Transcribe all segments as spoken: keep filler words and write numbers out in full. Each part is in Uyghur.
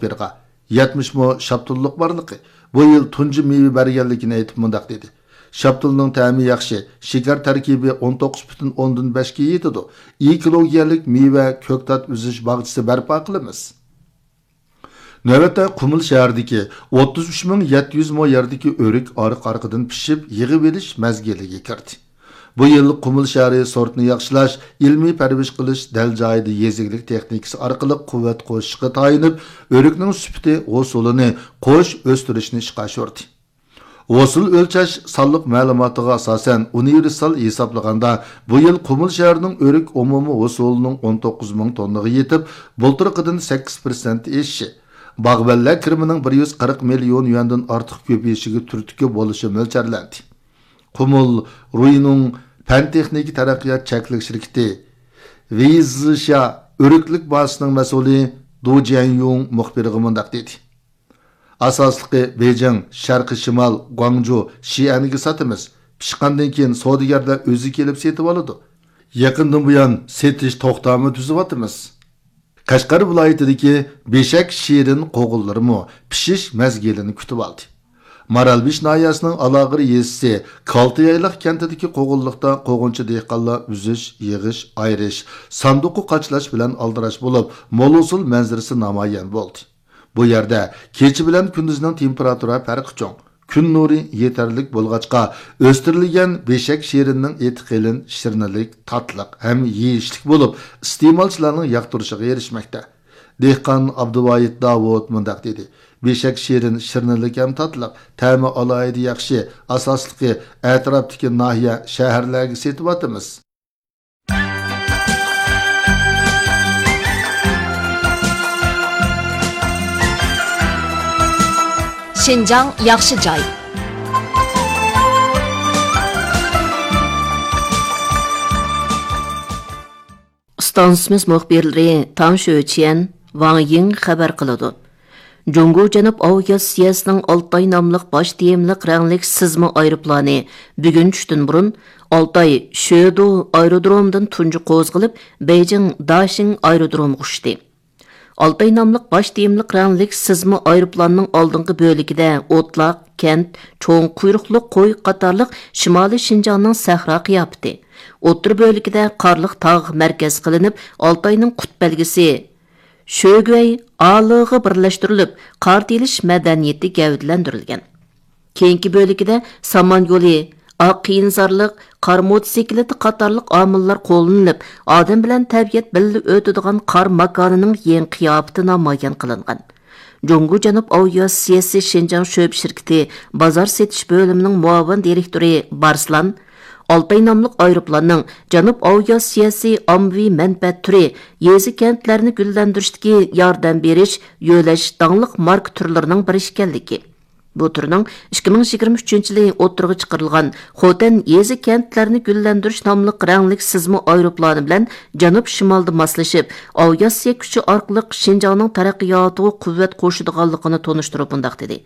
بىرغا، يەتمىش مو شاپتۇللۇق بارلىقى، بۇ يىل تۇنجى مېۋە بەرگەنلىكىنى ئېيتىپ مۇنداق دېدى: شاپتۇلنىڭ تەمى ياخشى، شېكەر تەركىبى ئون توققۇز پۈتۈن ئوندىن بەشكە يېتىدۇ. ئېكولوگىيەلىك مېۋە، كۆكتات ئۈزۈش باغچىسى بەرپا قىلىمىز. نۆۋەتتە قۇمۇل شەھىرىدىكى ئوتتۇز ئۈچ مىڭ يەتتە يۈز مو يەردىكى ئۆرۈك ئارقا-ئارقىدىن پىشىپ، يىغىۋېلىش مەزگىلىگە كىردى. بۇ يىل قۇمۇل شەھىرى سورتنى ياخشىلاش، ئىلمىي پەرۋىش قىلىش، دەل جايىدا يېزا ئىگىلىك تېخنىكىسى ئارقىلىق قۇۋۋەت قوشۇشقا تايىنىپ، ئۆرۈكنىڭ سۈپىتى، ھوسۇلىنى قوش ئۆستۈرۈشنى ئىشقا ئاشۇردى. ھوسۇل ئۆلچەش سانلىق مەلۇماتىغا ئاساسەن، ئۇنىۋېرسال ھېسابلىغاندا، بۇ يىل قۇمۇل شەھىرىنىڭ ئۆرۈك ئومۇمىي ھوسۇلىنىڭ ئون توققۇز مىڭ توننىغا يېتىپ، بۇلتۇرقىدىن سەككىز پىرسەنت ئېشىشى، باغۋەنلەر كىرىمىنىڭ بىر يۈز قىرىق مىليون يۈەندىن ئارتۇق كۆپىيىشىگە تۈرتكە بولۇشى مۆلچەرلەندى. قۇمۇل رۇينىڭ پەن-تېخنىكا تەرەققىيات چەكلىك شىركىتى ۋېيزىشيا ئۆرۈكلۈك بازىسىنىڭ مەسئۇلى دۇ جيەنيۇڭ مۇخبىرغا مۇنداق دېدى: ئاساسلىقى بېيجىڭ، شەرقىي شىمال، گۇاڭجۇ، شىئەنگە ساتىمىز. پىشقاندىن كېيىن سودىگەرلەر ئۆزى كېلىپ سېتىۋالىدۇ. يېقىندىن بۇيان سېتىش توختامى تۈزۈۋاتىمىز. قەشقەر ۋىلايىتىدىكى بېشەك شېرىن قوغۇنلىرىمۇ پىشىش مەزگىلىنى كۈتۈۋالدى. مارالبېشى ناھىيەسىنىڭ ئالاغىر يېزىسى كالتىيايلاق كەنتىدىكى قوغۇنلۇقتا قوغۇنچى دېھقانلار ئۈزۈش، يىغىش، ئايرىش، ساندۇققا قاچىلاش بىلەن ئالدىراش بولۇپ، مول ھوسۇل مەنزىرىسى نامايان بولدى. بۇ يەردە كېچە بىلەن كۈندۈزنىڭ تېمپېراتۇرا پەرقى چوڭ. كۈن نۇرى يېتەرلىك بولغاچقا، ئۆستۈرۈلگەن بېشەك شېرىنىنىڭ ئېتى قېلىن، شىرنىلىك، تاتلىق ھەم يېيىشلىك بولۇپ، ئىستېمالچىلارنىڭ ياقتۇرۇشىغا ئېرىشمەكتە. دېھقان ئابدۇۋايىت داۋۇت مۇنداق دېدى: بېشەك شېرىن، شىرنىلىك ھەم تاتلىق، تەمى ئالاھىدە ياخشى، ئاساسلىقى ئەتراپتىكى ناھىيە، شەھەرلەرگە سېتىۋاتىمىز. شىنجاڭ ياخشى جاي. ئىستانسىمىز مۇخبىرلىرى تاڭ شۆچيەن، ۋاڭ يىڭ خەۋەر قىلىدۇ. جۇڭگو جەنۇب ئاۋىئاتسىيەسىنىڭ ئالتاي ناملىق باش تېمىلىق رەڭلىك سىزما ئايروپىلانى بۈگۈن چۈشتىن بۇرۇن ئالتاي شۆدۇ ئايرودرومىدىن تۇنجى قوزغىلىپ، بېيجىڭ داشىڭ ئايرودرومىغا ئۇچتى. ئالتاي ناملىق باش تېمىلىق رەڭلىك سىزما ئايروپىلاننىڭ ئالدىنقى بۆلىكىدە ئوتلاق، كەنت، چوڭ قۇيرۇقلۇق قوي قاتارلىق شىمالىي شىنجاڭنىڭ سەھرا قىياپىتى، ئوتتۇرا بۆلىكىدە قارلىق تاغ مەركەز قىلىنىپ، ئالتاينىڭ قۇت بەلگىسى شۆگۈەي ئالىغا بىرلەشتۈرۈلۈپ، قار تېيىلىش مەدەنىيىتى گەۋدىلەندۈرۈلگەن. كېيىنكى بۆلىكىدە سامان يولى، ئاق قېيىنزارلىق، قار موتوسىكلىتى قاتارلىق ئامىللار قوللىنىلىپ، ئادەم بىلەن تەبىئەت بىللە ئۆتىدىغان قار ماكانىنىڭ يېڭى قىياپىتى نامايان قىلىنغان. جۇڭگو جەنۇب ئاۋىئاتسىيەسى شىنجاڭ شۆبە شىركىتى بازار سېتىش بۆلۈمىنىڭ مۇئاۋىن دىرېكتورى بارسلان، ئالتاي ناملىق ئايروپىلاننىڭ جەنۇب ئاۋىئاتسىيەسى ئاممىۋى مەنپەئەت تۈرى، يېزا، كەنتلەرنى گۈللەندۈرۈشتىكى ياردەم بېرىش، يۆلەش داڭلىق ماركا تۈرلىرىنىڭ بىرى ئىكەنلىكى، بۇ تۈرنىڭ ئىككى مىڭ يىگىرمە ئۈچىنچى يىلى ئوتتۇرىغا چىقىرىلغان خوتەن يېزا، كەنتلەرنى گۈللەندۈرۈش ناملىق رەڭلىك سىزما ئايروپىلانى بىلەن جەنۇب شىمالدا ماسلىشىپ، ئاۋىئاتسىيە كۈچى ئارقىلىق شىنجاڭنىڭ تەرەققىياتىغا قۇۋۋەت قوشىدىغانلىقىنى تونۇشتۇرۇپ مۇنداق دېدى: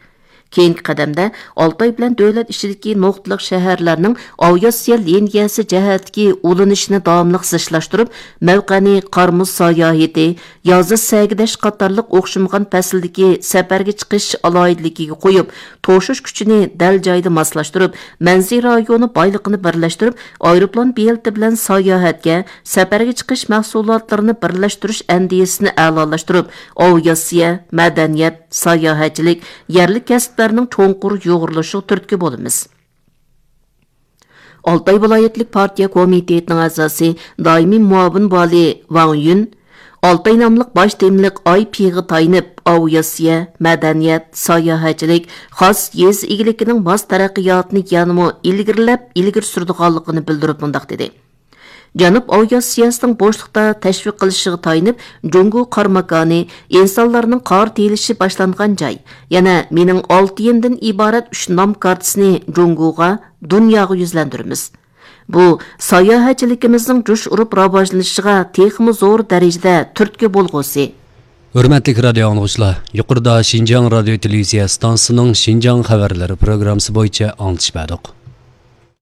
كېيىنكى قەدەمدە ئالتاي بىلەن دۆلەت ئىچىدىكى نۇقتىلىق شەھەرلەرنىڭ ئاۋىئاتسىيە لىنىيەسى جەھەتتىكى ئۇلىنىشىنى داۋاملىق زىچلاشتۇرۇپ، مەۋقەنى قار-مۇز ساياھىتى، يازدا سەگىدەش قاتارلىق ئوخشىمىغان پەسىلدىكى سەپەرگە چىقىش ئالاھىدىلىكىگە قويۇپ، توشۇش كۈچىنى دەل جايىدا ماسلاشتۇرۇپ، مەنزىرە رايونى بايلىقىنى بىرلەشتۈرۈپ، ئايروپىلان بېلىتى بىلەن ساياھەتكە، سەپەرگە چىقىش مەھسۇلاتلىرىنى بىرلەشتۈرۈش ئەندىزىسىنى ئەلالاشتۇرۇپ، ئاۋىئاتسىيە، مەدەنىيەت، ساياھەتچىلىك، يەرلىك كەسىپلەرنىڭ چوڭقۇر يۇغۇرۇلۇشىغا تۈرتكە بولىمىز. ئالتاي ۋىلايەتلىك پارتىيە كومىتېتىنىڭ ئەزاسى، دائىمىي مۇئاۋىن ۋالىي ۋاڭ يۈن، ئالتاي ناملىق باش تېمىلىق ئاي پىغا تايىنىپ، ئاۋىئاتسىيە، مەدەنىيەت، ساياھەتچىلىك، خاس يېزا ئىگىلىكىنىڭ ماس تەرەققىياتىنى يەنىمۇ ئىلگىرىلەپ، ئىلگىرى سۈرىدىغانلىقىنى بىلدۈرۈپ مۇنداق دېدى: جەنۇب ئاۋىئاتسىيەسىنىڭ بوشلۇقتا تەشۋىق قىلىشىغا تايىنىپ، جۇڭگو قارماكانى ئىنسانلارنىڭ قار تېيىلىشى باشلانغان جاي، يەنە مېنىڭ ئالتە يىندىن ئىبارەت ئۈچ نام كارتىسىنى جۇڭگوغا، دۇنياغا يۈزلەندۈرىمىز. بۇ ساياھەتچىلىكىمىزنىڭ جۇش ئۇرۇپ راۋاجلىنىشىغا تېخىمۇ زور دەرىجىدە تۈرتكە بولغۇسى. ھۆرمەتلىك رادىئو ئاڭلىغۇچىلار، يۇقىرىدا شىنجاڭ رادىئو تېلېۋىزىيە ئىستانسىسىنىڭ شىنجاڭ خەۋەرلىرى پروگراممىسى بويىچە ئاڭلىتىش بەردۇق.